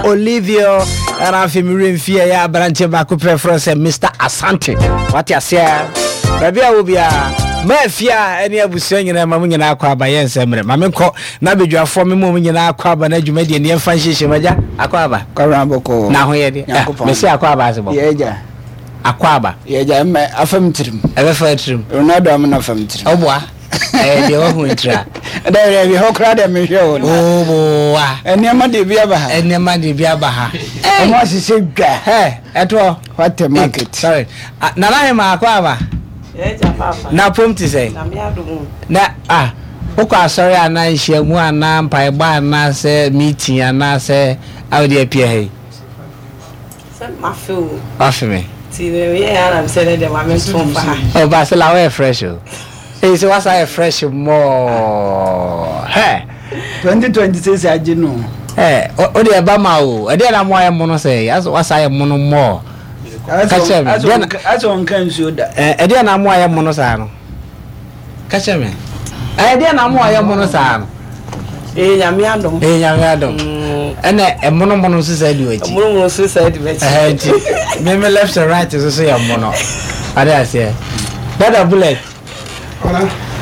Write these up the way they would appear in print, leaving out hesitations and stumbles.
Olivio, ɛna afei me werɛ mfie ɛyɛ aberanteɛ baako pɛ frɛ sɛ Mr. Asante. Wate aseɛ? Baabi a wɔ biara, ma afie a ɛne abusua nyinaa ma mo nyinaa akɔ aba yɛ nsɛm mmerɛ. Ma menkɔ na badwafoɔ me mu nyinaa akɔ aba na adwumadie ne yɛmfa nhyehyɛ mu agya akɔ aba. Kwabena bɔkɔɔ. Na ho yɛ deɛ. Nyankopɔn. Mese akɔ aba ase bɔ. Yɛ agya. Akɔ aba. Yɛ agya mɛ afam tirim. Ɛbɛfa tirim. Ronaldo amena afam tirim. Ɔboa. Ɛyɛ deɛ wahu ntira. Dɛ dɛ bi hɔ koraa dɛ mehwɛ o. Oboa. Nneɛma de bi aba ha. Nneɛma de bi aba ha. Ɔmo ahyehyɛ dwa. Hɛ ɛtoɔ. What a market. Sorry. Nana Hema akɔ aba. Na pom te sɛ. Na ah wokɔ asɔre anaa nhyiamu anaa mpaebɔ anaa sɛ meeting anaa sɛ a wode apia ha yi. Sɛ mafe wo. Wafe me. Ti me yɛ ya na mesɛ ne deɛ ma me nto mfa ha. Oh Basila woyɛ fresh o. Ee sɛ wasa yɛ fresh mɔɔ. Hɛ. 2026 agye no. Ɛ o deɛ ɛba ma o. Ɛdeɛ na mo ayɛ mono sɛ wasa ayɛ mono mɔɔ. Ka kyerɛ me. Deɛ na asɛ ɔnka nsuo da. Ɛ ɛdeɛ na mo ayɛ mono saa no. Ka kyerɛ me. Ɛyɛ deɛ na mo ayɛ mono saa no. Ɛyɛ nyame adom. Ɛyɛ nyame adom. Ɛna ɛmono mono nso saa di w'akyi. Ɛmono mono nso saa di m'akyi. Ɛhɛ nti me me left and right nso so yɛ mono. Ade aseɛ. Dada bullet.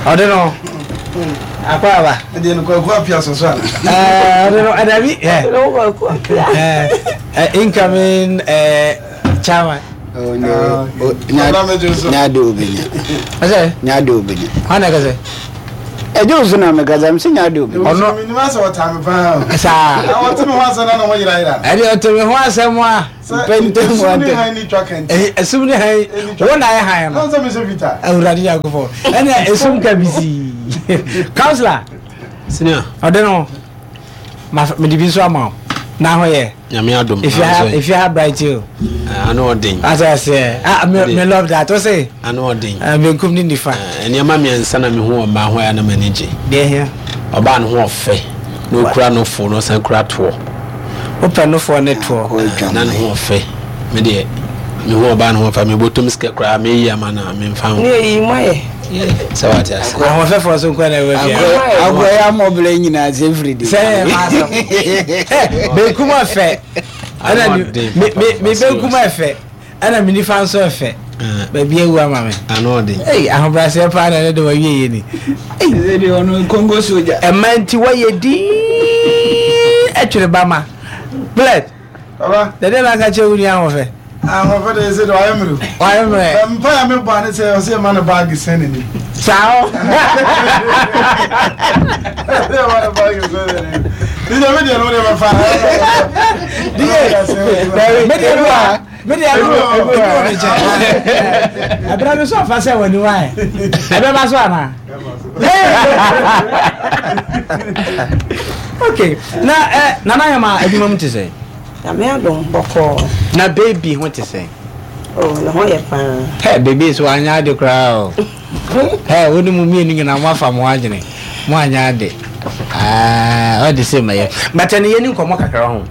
Ɔde no. Akɔ aba. Ɛdeɛ no kwaku apia so so ana. Ɛɛ ɔde no ɛdabi. Ɔde no kwaku apia. Ɛɛ incoming ɛɛ chairman. Nyade obenya. Ɛsɛ. Nyade obenya. Hwan na ɛkɛsɛ? Ɛgye wo so na mekasa mesɛ nyade obenya. Ɔno. Menim asɛ ɔtaa me paa. Saa. Na ɔte me ho asɛm na na ho yerayera. Ɛde ɔte me ho asɛm a. Sɛ esum ne han ni twa kanti. Esum ne han wo na ayɛ han no. Na sɛ mehyɛ fitaa. Awurade Nyankopɔn. Ɛna esum ka bisi. Counselor. Senior. Ɔde no. Ma mede bi nso ama wo. Na ho yɛ. Nyame adom. If you have if you have bright you. Eh, ano ɔden. Ate aseɛ. Ah, me me love that. O se. Ano ɔden. Eh, benkum ne nifa. Eh, nneɛma mmiɛnsa na mehu wɔ mmaa ho a na m'ani gye. Deɛ hia. Ɔbaa no ho ɔfɛ na okura nofo na ɔsan kura toɔ. Wopɛ nofoɔ ne toɔ. Eh, na ne ho ɔfɛ. Me deɛ mehu ɔbaa no ho ɔfɛ mebɔtɔm sika koraa meyi ama no a memfa ho. Ne eyi mo ayɛ. Sɛ wate ase. Ahoɔfɛfoɔ so nko na ɛwɔ fie. Akɔ yɛ amɔbla nyinaa sɛ firi de. Sɛ yɛ maa sɛm. Benkum ɔfɛ. Ɛna me me me benkum ɛfɛ. Ɛna me nifa nso ɛfɛ. Baabi awu ama me. Ano ɔden. Ei ahobrɛaseɛ paa na ɛne de wawie yɛ ni. Ei. Ɛsɛ deɛ ɔno Congo soja. Ɛma nti wɔyɛ dinn ɛtwere ba ma. Bled. Baba. Dɛdɛ na aka kyerɛ wo nua ahoɔfɛ. Ahoɔfɛ de ɛsɛ de wayɛ mmerɛ. Wayɛ mmerɛ. Bɛ mpa ya me bɔ ane sɛ ɔsɛ yɛ ma no baagi sɛn n'anim. Saa o. Ɔsɛ yɛ ma no baagi sɛn n'anim. Dídé mi deɛ no de bɛ fa. Dídé mi deɛ no wa mi deɛ no ebi wɔ mi kyɛn. Ɛbɛrɛ mi sɔ fa sɛ wɔ ni wa yɛ. Ɛbɛ ba so ana. Okay na ɛ nana yɛ ma adwuma mu te sɛ. Nyame adom bɔkɔɔ. Na baby ho te sɛn? Oh ne ho yɛ paa. Hɛ baby nso wanyɛ ade koraa o. Hɛ wo ne mo mmienu nyinaa mo afa mo adwene. Mo anyɛ ade. Ah ɔde sɛ mɛyɛ. But ɛne yɛni nkɔmmɔ kakra ho.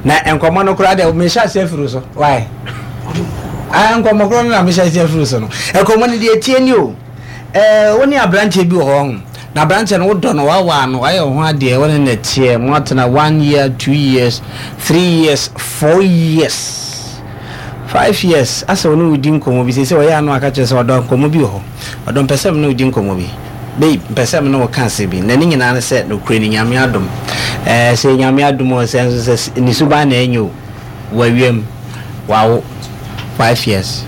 Na nkɔmmɔ no koraa deɛ mehyɛ ase afiri so. Why? Ah nkɔmmɔ koraa no na mehyɛ ase afiri so no. Nkɔmmɔ no deɛ tie ni o. Ɛɛ wo ne aberanteɛ bi wɔ hɔ ho. Na aberanteɛ no wodɔ no, woawaa no, wayɛ wo ho adeɛ, wo ne no teɛ, moatena one year, 2 years, 3 years, 4 years, 5 years, asɛ ɔne wo di nkɔmmɔ bi, seesei ɔyɛ ano aka kyerɛ sɛ ɔdɔ nkɔmmɔ bi wɔ hɔ, ɔdɔ mpɛ sɛ me ne wo di nkɔmmɔ bi, babe mpɛ sɛ me ne wo ka asɛm bi, na ne nyinaa ne sɛ nokorɛ ni Nyame adom, ɛɛ sɛ Nyame adom o, sɛ nso sɛ ne suban na ɛnyɛ o. Wawiam, wawo, 5 years,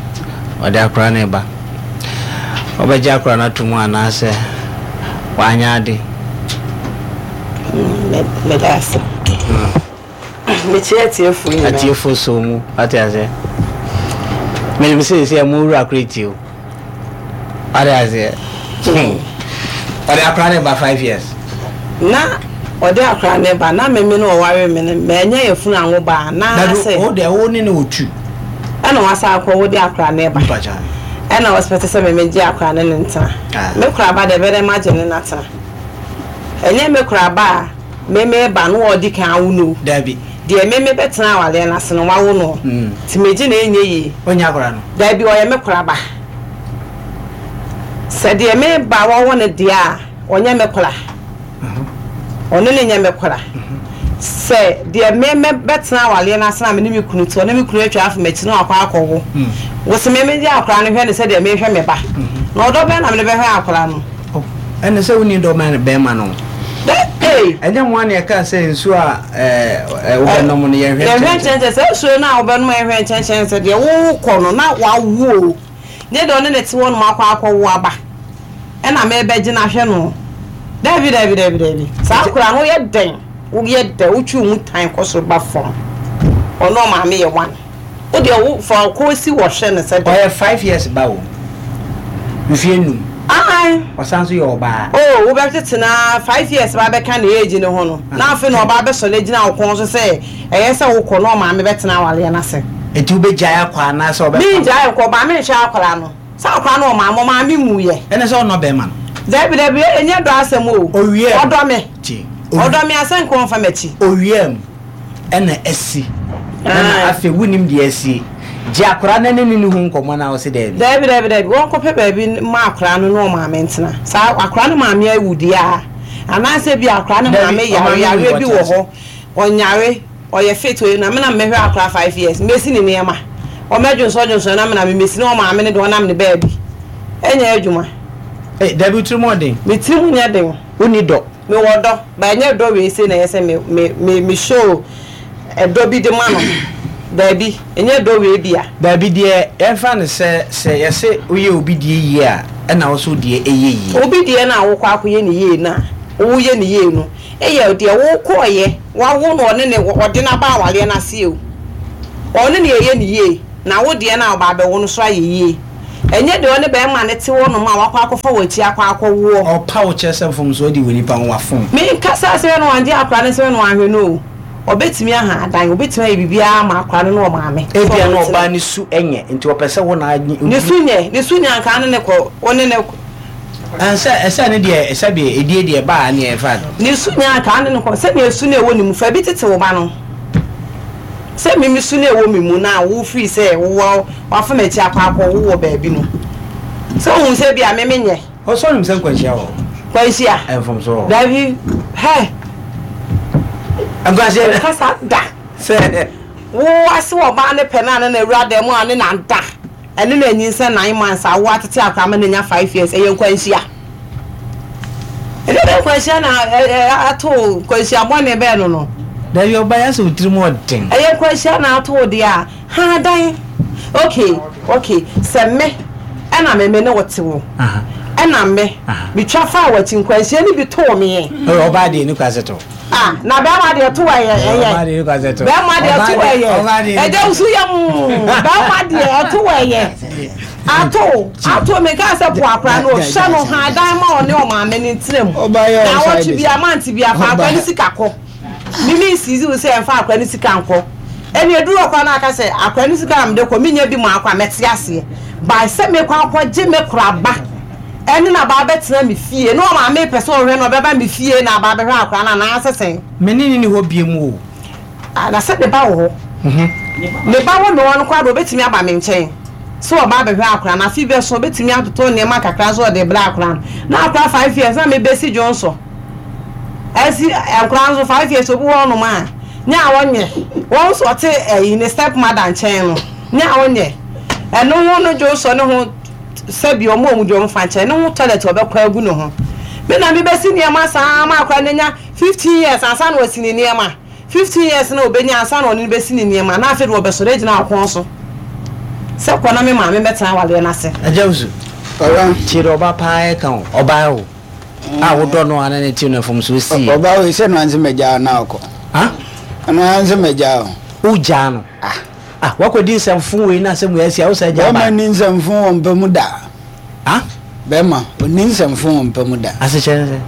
ɔde akora no reba. Wobɛgye akora no ato mu anaasɛ wanyɛ ade? Meda ase. Mekyia atiefoɔ nyinaa. Atiefoɔ so mu, wate aseɛ. Menim sɛ sɛ mo wura kora tie o. Wate aseɛ. Ɔde akora no ba 5 years. Na ɔde akora no ba na meme no ɔware me no manya yafunu anwo ba na sɛ. Wo deɛ wo ne no wɔ tu. Ɛna wasa akɔ wo de akora no ba. Ɛna ɔspɛte sɛ meme gye akora no ne ntena. Me kora ba deɛ bɛdɛ magye ne natena. Ɛnyɛ me kora ba a meme ba no ɔdi kan awo no. Dabi. Deɛ meme bɛtena awareɛ no ase no wawo no. Nti megye na ɛnyɛ yie. Ɔnyɛ akora no. Dabi ɔyɛ me kora ba. Sɛ deɛ me ba wawo no deɛ a ɔnyɛ me kora. Ɔno ne nyɛ me kora. Sɛ deɛ me mɛ bɛtena awareɛ no ase na me ne me kunu te hɔ na me kunu atwa afa m'akyi na wakɔ akɔwo. Wo se me megye akwadaa no hwɛ no sɛdeɛ mehwɛ me ba. Na ɔdɔ bɛn na mede bɛhwɛ akwadaa no? Oh, ɛne sɛ wonni dɔ ma bɛrima no. Dɛ, ei! Ɛnyɛ mo ara na yɛkaa sɛ nsuo a ɛɛ wobɛnom no yɛnhwɛ Yɛnhwɛ nkyɛnkyɛn. nkyɛnkyɛn. Saa nsuo no a wobɛnom a yɛnhwɛ nkyɛnkyɛn sɛ deɛ wokɔ no na wawo o. Nyɛ deɛ ɔne no te hɔ nom akɔ akɔwo aba ɛna merebɛgye no ahwɛ no. Daabi, daabi, daabi, daabi. Saa akwadaa no woyɛ dɛn? Woyɛ dɛn? Wotwe wo mu tan kɔ soro ba fam. Ɔne ɔmaame yɛ one. Wo deɛ wo fa wo kɔn si hɔ hwɛ no sɛ dɛn. Ɔyɛ 5 years ba o. Mfeɛ 5. Ae. Ɔsan nso yɛ ɔbaa. Oh, wobɛtete no ara 5 years ba bɛka ne age no ho no, na afei na ɔba abɛsɔre agyina wo kɔn so sɛ ɛyɛ sɛ wokɔ na ɔmaame bɛtena awareɛ no ase. Enti wobɛgyae akɔ anaasɛ ɔbɛpam? Mengyae nkɔ, ba menhwɛ akwadaa no. Sɛ akwadaa no ɔmaame, ɔmaame nwuiɛ. Ɛne sɛ ɔnnɔ bɛrima no. Dabi, dabi, ɛnyɛ dɔ asɛm o. Owia mu. Ɔdɔ me. Tie. Ɔdɔ me asɛ nka ɔmfa m'akyi. Owia mu ɛna asi. Ɛna afei wonim deɛ asie. Gye akwadaa no ne ne ne ho nkɔmmɔ na wose daabi. Dabi, dabi, dabi, wɔnkɔpɛ baabi ma akwadaa no ne ɔmaame ntena. Saa akwadaa no maame awu deɛ a, anaasɛ bi akwadaa no Dabi, maame yare, ɔmaame yareɛ wu bi ɔte wɔ ase. hɔ, ɔnyare, ɔyɛ fit oye na me na mɛhwɛ akwadaa 5 years, mɛsi ne nneɛma. Ɔmɛdwonsɔ dwonsɔ na me na memɛsi na ɔmaame no deɛ ɔnam ne baabi. Ɛnyɛ adwuma. Ee, dabi, wo tirim ɔden. Me tirim nyɛ den. Wonni dɔ. Mewɔ dɔ, but ɛnyɛ dɔ wei sei na ɛyɛ sɛ me me me me show ɛdɔ bi de ma no. Daabi, ɛnyɛ dɔ wei bi a. Daabi deɛ yɛmfa no sɛ sɛ yɛse woyɛ obi deɛ yie a ɛna wo nso wo deɛ ɛyɛ yie. Obi deɛ no a wokɔ akɔyɛ no yie no a woyɛ no yie no yɛ deɛ wokɔeɛ wawo no ɔne ne ɔde no aba awareɛ no ase o. Ɔne ne ɛyɛ no yie na wo deɛ no a ɔba abɛwo no nso ayɛ yie. Ɛnyɛ deɛ ɔne bɛrima no te hɔ nom a wakɔ akɔfa w'akyi akɔ akɔwoɔ. Ɔpa wo kyerɛ sɛ mfomsoɔ adi wɔ nipa ho wafom. Menkasa sɛ na wangye akwadaa no sɛ na wanhwɛ no o. Ɔbɛtumi aha adan, ɔbɛtumi ayɛ biribiara ama akwadaa no ne ɔmaame. Sɛ Ebia na ɔmo ntena. ɔbaa no su nyɛ nti ɔpɛ sɛ wo na nye. Ne su nyɛ, ne su nyɛ anka ne ne kɔ, wo ne ne. Ɛnsɛ, ɛsɛ ne deɛ sɛdeɛ edie deɛ ɛbaa ne ɛfa. Ne su nyɛ anka ne ne kɔ, sɛdeɛ su no ɛwɔ ne mu, fa bi tete wo ba no. Sɛ me me su no ɛwɔ me mu na wo firi sɛ wowɔ wafa m'akyi akɔ akɔ wo wɔ baabi no. Sɛ wohu sɛ bi a me menyɛ. Ɔsɔ nim sɛ nkwanhyia wɔ hɔ. Nkwanhyia? Mfomso wɔ hɔ. Dabi, hɛ. Nkwanhyia. Kasa da. Sɛ. Wo ase wɔ ɔbaa ne pɛ no a ne na awura dan mu a ne na da ɛne na anyinsɛn 9 months a wo atete akora ma no anya 5 years, ɛyɛ nkwanhyia. Ɛdeɛ bɛ nkwanhyia na ato nkwanhyia bɔne bɛɛ no. Dabi, ɔbaa yɛ sɛ wo tirim ɔden. Ɛyɛ nkwanhyia na ato wo deɛ a ha dan. Okay, sɛ me ɛna me ne wo te wo ɛna me metwa fa w'akyi, nkwanhyia no bi too me. Ɔbaa deɛ ne kwa sɛ to. Ah, na bɛrima deɛ to ɛyɛ ɛyɛ. Bɛrima deɛ to ɛyɛ. Ɛgya wusu yɛ mu. Bɛrima deɛ ɛto ɛyɛ. Ato ato mi kaa sɛ po akora no ɔhyɛ no ha dan ma ɔne ɔmaame ne ntena mu. Na awɔtwe bi amante bi afa akora ne sika kɔ. Mimi nsizi wo sɛ ɛnfa akora ne sika nkɔ. Ɛna eduru ɔkora no aka sɛ akora ne sika na mede kɔ mi nya bi mu akɔ a mɛte aseɛ. By sɛ mekɔ akɔgye me kora ba ɛne na ba abɛtena me fie na ɔmaame pɛ sɛ ɔhwɛ no ɔbɛba me fie na aba abɛhwɛ akora no anaasɛ sɛn. Me ne ne ni hɔ biem o. Ah, na sɛ ne ba wɔ hɔ. Ne ba wɔ me hɔ no koraa de ɔbɛtumi aba me nkyɛn sɛ ɔba abɛhwɛ akora no. Afe bɛso ɔbɛtumi atotɔ nneɛma kakra nso ɔde brɛ akora no. Na akora 5 years na mebɛsi dwonso. Ɛsi nkora nso 5 years obi wɔ hɔnom a nyɛ a ɔnyɛ. Wɔn nso ɔte ɛyi ne step mother nkyɛn no nyɛ a ɔnyɛ. Ɛno ho no dwonso ne ho sɛbi ɔmo a ɔmo di ɔmo fa nkyɛn ne ho toilet ɔbɛkɔ agu ne ho. Me na mebɛsi nneɛma saa ma akora no anya 15 years ansa na wasi ne nneɛma. 15 years na obenya ansa na ɔne no bɛsi ne nneɛma na afei de wɔbɛsɔre agyina ɔkɔn so sɛ kɔ na me maame bɛtena awareɛ no ase. Agya Wusu, Papa. Tie deɛ ɔba paa ɛka o, ɔbaa o, a wodɔ no a na ne ti no mfomsoɔ sie. Ɔbaa wei sɛ no anse magyaa no akɔ. Ha? Ɛno anse magyaa o. Wogyaa no? Ah. Ah, wakɔdi nsɛmfo wei na asɛm wei asi a wosan gyaa Bɛrima baa? ni nsɛmfo wɔ mpa mu da. Ah? Bɛrima, ɔni nsɛmfo wɔ mpa mu da. Asekyerɛ ne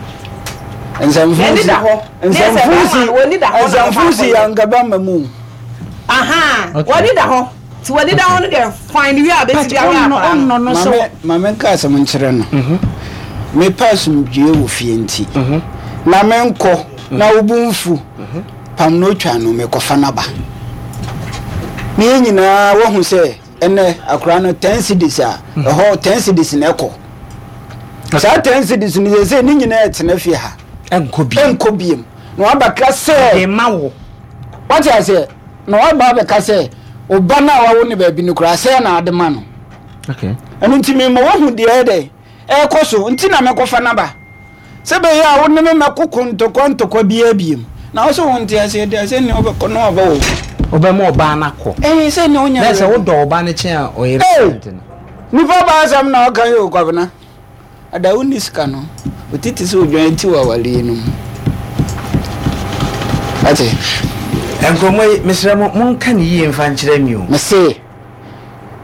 sɛ? Nsɛmfo N'ani si. da hɔ. Ne sɛ Nsɛmfo bɛrima si. no, w'ani da hɔ na Nsɛmfo wɔfa si akɔyɛ. anka bɛrima mu. Aha, Okay. w'ani da hɔ. Nti w'ani da hɔ no deɛ fine wie a bɛsi bi ahwɛ akwadaa no. ɔnnɔ no sɛ Maame, maame nka asɛm nkyerɛ no. Mepɛ asomdwie wɔ fie nti. Na menkɔ na wo bo mfu. Pam no otwa no mekɔfa n'aba. Ne yɛn nyinaa wahu sɛ ɛnɛ akwadaa no 10 cedis a ɛhɔ 10 cedis na ɛkɔ. Saa 10 cedis no sɛ ne nyinaa ɛtena fie ha. Ɛnkɔ bi. Ɛnkɔ biem. Na wabɛka sɛ. De ma wo. Wate aseɛ? Na waba abɛka sɛ, wo ba no a wawo no baabi no koraa, sɛɛ na ade ma no. Okay. Ɛno nti mema woahu deɛ ɛyɛ dɛ ɛrekɔ so nti na mekɔfa no aba. Sɛ ɛbɛyɛ a wo ne me mmɛkoko ntɔkwa ntɔkwa biara biom. Na wo sɛ wonte aseɛ deɛ, sɛ nea wobɛkɔ na waba wɔ hɔ. Wobɛma ɔbaa no akɔ. Ɛɛ, sɛ nea wonya Na sɛ wodɔ ɔbaa no kyɛn a ɔyere nti no. Nipa baa asɛm na ɔka yi o, Kwabena. Ada wonni sika no, wo ti te sɛ odwan ti wɔ awareɛ no mu. Wate? Nkɔmmɔ yi, mesrɛ mo, monka no yie mfa nkyerɛ me o. Mese,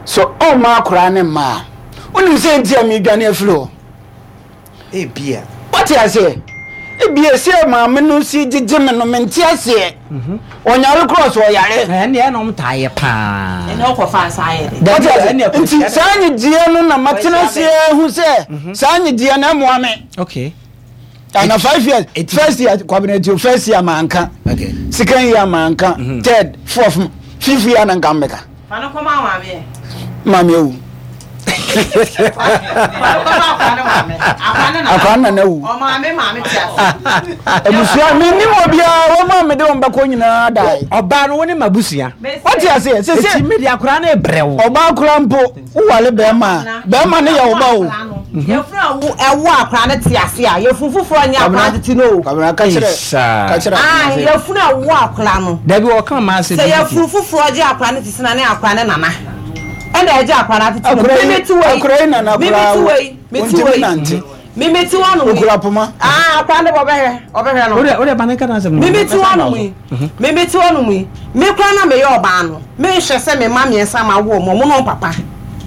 sɛ ɔmma akoraa ne mma a, wonim sɛ nti a meredwane afiri hɔ? Ebia. Wate aseɛ? Ebia sɛ maame no si gyegye me no, mente aseɛ. Ɔnyare koraa ɔsɛ ɔyare. Ɛnneɛ ɛna ɔmo taa yɛ paa. Ɛnna ɔkɔ fa nsa ayɛ dɛ. Wate aseɛ? Nti saa nyegyeɛ no na matena aseɛ ahu sɛ saa nyegyeɛ no ɛmoa me. Okay. Ana 5 years, first year Kwabena Tio, first year manka. Okay. Second year manka. Third, fourth, fifth year na nka mmeka. Fa no kɔma maame ɛ. Maame awu. Fa no kɔma akwa ne maame. Akwa ne nana. Akwa ne nana awu. Ɔmaame maame te ase. Abusua mennim obiara wɔn a mede wɔn bɛkɔ nyinaa dae. Ɔbaa no wo ne m'abusua. Wote aseɛ sese. Eti mede akwadaa no rebrɛ wo. Ɔbaa koraa mpo woware bɛrima a bɛrima no yɛ wo ba o. Yɛfunu a wo ɛwo akwadaa no te ase a yɛfunu foforɔ nyɛ akwadaa tete no o. Kwabena ka kyerɛ ka kyerɛ Ae yɛfunu a ɛwo akwadaa no. Dabi ɔka ɔmaa asɛm Sɛ yɛfunu foforɔ gye akwadaa no tete na ne akwadaa no nana ɛna ɛgye akwadaa no atete no. Akwadaa yi Me mete wei akwadaa yi nana me koraa mete wei mete ɔntumi wei nante. me mete hɔ nom yi. Okura poma. Ah akwadaa no ɔbɛhwɛ ɔbɛhwɛ no. Wode wode ba ne nka n'asɛm no. Me mete hɔ nom yi me mete hɔ nom yi me koraa na meyɛ ɔbaa no menhwɛ sɛ me mma mmiɛnsa mawo wɔn wɔn ne wɔn papa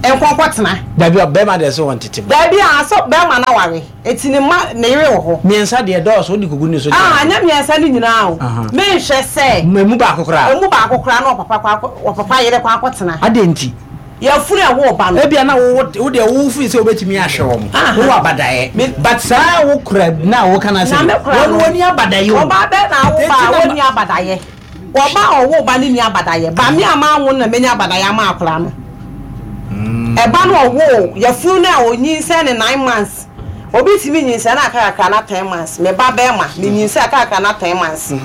nkɔ nkɔtena. Dabi ɔbɛrima deɛ sɛ wɔntete ba. Dabi a sɛ bɛrima no aware eti ne mma ne yere wɔ hɔ. Mmiɛnsa deɛ dɔɔso wode kogu ne so deɛ. Ah nyɛ mmiɛnsa no nyinaa o menhwɛ sɛ. Emu baako koraa. Emu baako koraa na ɔpapa kɔ akɔ ɔpapa yere kɔ akɔtena. Adɛn nti? Yafunu a ɛwɔ ɔba no. Ebia na wo wo deɛ wo feel sɛ wobɛtumi ahwɛ wɔn. Wowɔ abadaeɛ. But saa wo kora na woka no asɛm yi, wɔn wɔnni abadaeɛ o. Ɔbaa bɛn na awo ba a wɔnni abadaeɛ? Ɔba a ɔwo ba no nni abadaeɛ. Ba me a manwo no na manya abadaeɛ ama akwadaa no. Ɛba no ɔwoo yafunu no a ɔnyinsɛn no 9 months. Obi tumi nyinsɛn na aka kakra na 10 months. Me ba bɛrima, menyinsɛn aka kakra na 10 months. Na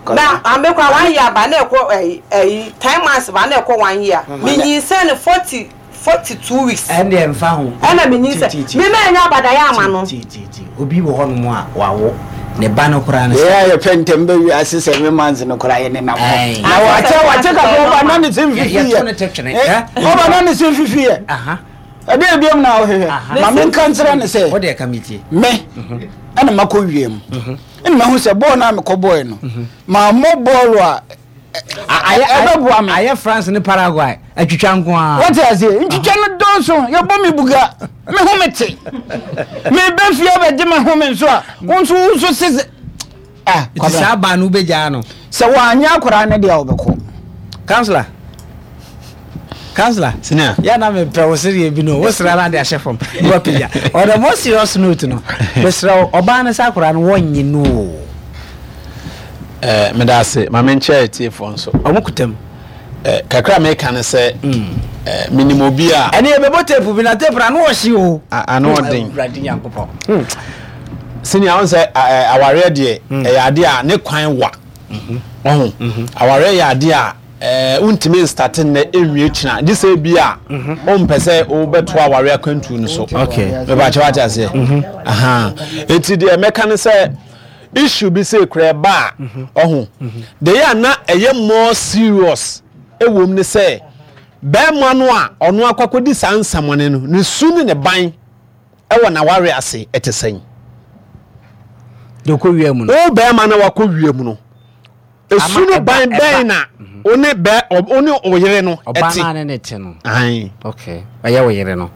na ame kora 1 year ba na ɛkɔ ɛyi ɛyi 10 months ba na ɛkɔ 1 year. Menyinsɛn no 42 weeks. Ɛndeɛ mfa ho. Ɛna menyinsɛn. Me ma ɛnya abadaeɛ ama no. Ti ti ti obi wɔ hɔnom a wawo ne ba no koraa no. Yɛ a yɛpɛ ntɛm bɛ wiase 7 months no koraa yɛ ne nam hɔ. Na wakyɛ wakyɛ kakra ɔba na ne se mfifi yɛ. Yɛto ne to twene. Ɔba na ne se mfifi yɛ. Ɛdeɛ ebiom na wohwehwɛ. Ma menka nkyerɛ ne sɛ. Wo deɛ ka metie. Me ɛna makɔ wiem. Ɛna mahu sɛ bɔɔl no a mekɔ bɔɔl no mammɔ bɔɔl a ɛbɛboa me. Ayɛ France ne Paraguay atwitwa nko ara. Wote aseɛ? Ntwitwa no dɔɔso. Yɛbɔ me buga. Me ho me te. Mebɛ fie abɛgye me ho me nso a, wo nso wo nso sese. Ah, Nti saa baa no wobɛgyaa no? Sɛ wɔanyɛ akwaraa no deɛ a wɔbɛkɔ. Councillor. Councillor. Senior. Yɛ na mepɛ wo sereɛ bi no, wo sra no ade ahyɛ fam. Na wapagya. On a more serious note no, mesrɛ wo, ɔbaa no sɛ akwaraa no wɔnnye no o. Eh, meda ase. Ma menkyɛ atiefoɔ nso. Ɔmo kuta mu. Eh, kakra a meka ne sɛ, eh, menim obi a. Ɛne yɛbɛbɔ tape bi na tape no ano ɔhye o. Ano ɔden. Awurade Nyankopɔn. Senior, wohu sɛ awareɛ deɛ, ɛyɛ adeɛ a ne kwan wa. Ɔho, awareɛ yɛ adeɛ a eh, wontumi nstate nnɛ nwie kyena, gye sɛ bi a wompɛ sɛ wobɛto awareɛ akwantuo no so. Mepakyɛ wate aseɛ. Aha. Enti deɛ mɛka ne sɛ, issue bi sɛ kura ɛba a, ɔho, deɛ yɛ a na ɛyɛ more serious ɛwom ne sɛ, bɛrima no a ɔno akɔ akɔdi saa nsɛmɔne no, ne su ne ne ban ɛwɔ n'awareɛ ase ɛte sɛn? Deɛ ɔkɔ wia mu no. Wo bɛrima na wakɔ wia mu no, esu no ban bɛn na wo ne bɛ wo ne wo yere no ɛte? Ɔbaa naa ne ne te no. Ayi. Okay, ɔyɛ wo yere no.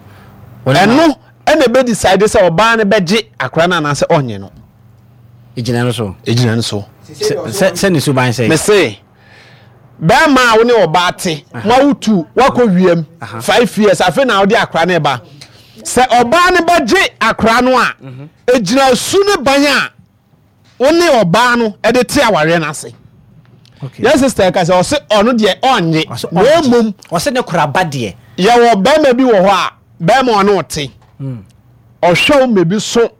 Ɛno ɛna ebe decide sɛ ɔbaa no bɛgye akora no anaasɛ ɔnye no. Egyina no so. Egyina no so. Sɛ sɛ ne suban sɛ. Mese bɛrima a wo ne ɔbaa te mo awo tu wakɔ wiem 5 years afei na ɔde akora no ba sɛ ɔbaa no bɛgye akora no a egyina su ne ban a wo ne ɔbaa no de te awareɛ no ase. Yɛn sister ka sɛ ɔse ɔno deɛ ɔnnye na mmom ɔse ne kora ba deɛ. Yɛwɔ bɛrima bi wɔ hɔ a bɛrima ɔne ɔte ɔhwɛ wo mmebi so.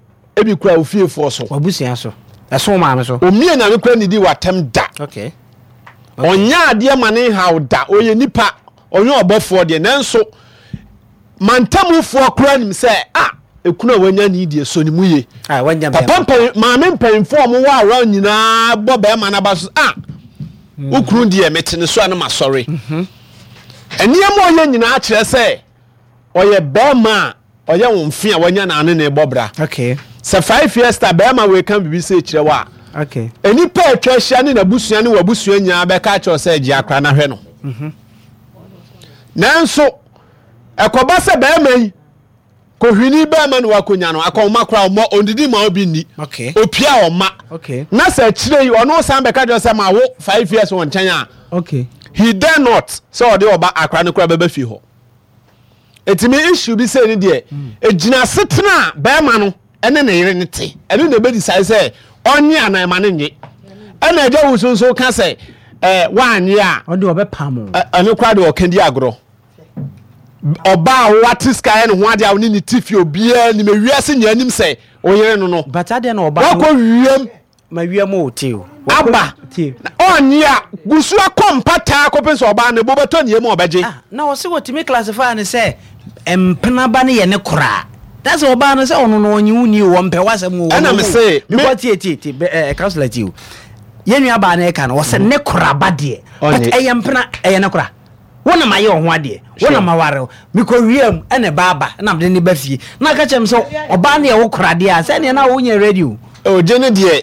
Ebi kura ofiefoɔ so. Wabusua so. Ɛso maame so. Omie nyame kura nidi watam da. Okay. Ɔnyɛ adeɛ ma ne nhaw da. Ɔyɛ nipa. Ɔnyɛ ɔbɔfoɔ deɛ. Nanso mantamufoɔ kura nim sɛ ah ekunu a wanya ne deɛ so ne mu ye. Ah, wanya Papa bɛrima. mpanyin maame mpanyinfoɔ a wɔwɔ around nyinaa bɔ bɛrima n'aba so ah wo kunu deɛ mete ne so a na masɔre. Nneɛma a ɔyɛ nyinaa kyerɛ sɛ ɔyɛ bɛrima a ɔyɛ wo mfe a wanya na ane ne bɔ bra. Okay. Sɛ 5 years ta bɛrima wei ka biribi sɛ kyerɛ wo a Okay. nnipa a atwa ahyia ne n'abusua ne w'abusua nyinaa bɛka akyerɛ wo sɛ gye akora na hwɛ no. Nanso ɛkɔba sɛ bɛrima yi kohwini bɛrima na wakonya no akɔnma koraa ɔmmɔ ɔndidi ma obi nni Okay. opia ɔma Okay. na sɛ akyire yi ɔno san bɛka kyerɛ sɛ ma wo 5 years wɔ nkyɛn a Okay. he dare not sɛ ɔde ɔba akora no koraa bɛba fie hɔ. Ɛtumi issue bi sɛ ne deɛ ɛgyina asetena a bɛrima no ɛne ne yere no te ɛno na ɛbɛdi sɛ ɔnye anaa ɛma no nye. Ɛna agya wo so nso ka sɛ woanye a Ɔde ɔbɛpam o. Ɛno koraa de ɔka di agorɔ. Ɔbaa a wate sika yɛ ne ho adeɛ a wo ne ne te fie obiara nim ewiase nyinaa nim sɛ oyere no. But adeɛ na ɔbaa wakɔ wiem ma wiem o te o. Aba Tie. ɔnye a gusu akɔ mpataa kɔpem sɛ ɔbaa no bo bɛtɔ ne yam a ɔbɛgye. Ah, na ɔse wɔtumi classify no sɛ mpenaba no yɛ ne koraa. Na sɛ ɔbaa no sɛ ɔno no ɔnye wo ni o, ɔmpɛ w'asɛm o. Ɛna ɔno me o. se, me- Because tie tie tie bɛ ɛ councillor tie o. Yɛn nua baa no ɛka no ɔsɛ ne koraba deɛ. But Ɔnye. ɛyɛ mpena ɛyɛ ne kora. Wo na ma yɛ ɔho adeɛ. Wo na ma ware wo. Mekɔ wiem ɛna ɛba aba ɛna mede ne ba fie. Na aka kyerɛ me sɛ ɔbaa no yɛ wo kora deɛ a sɛ neɛ na wonyɛ ready o. Ogye ne deɛ.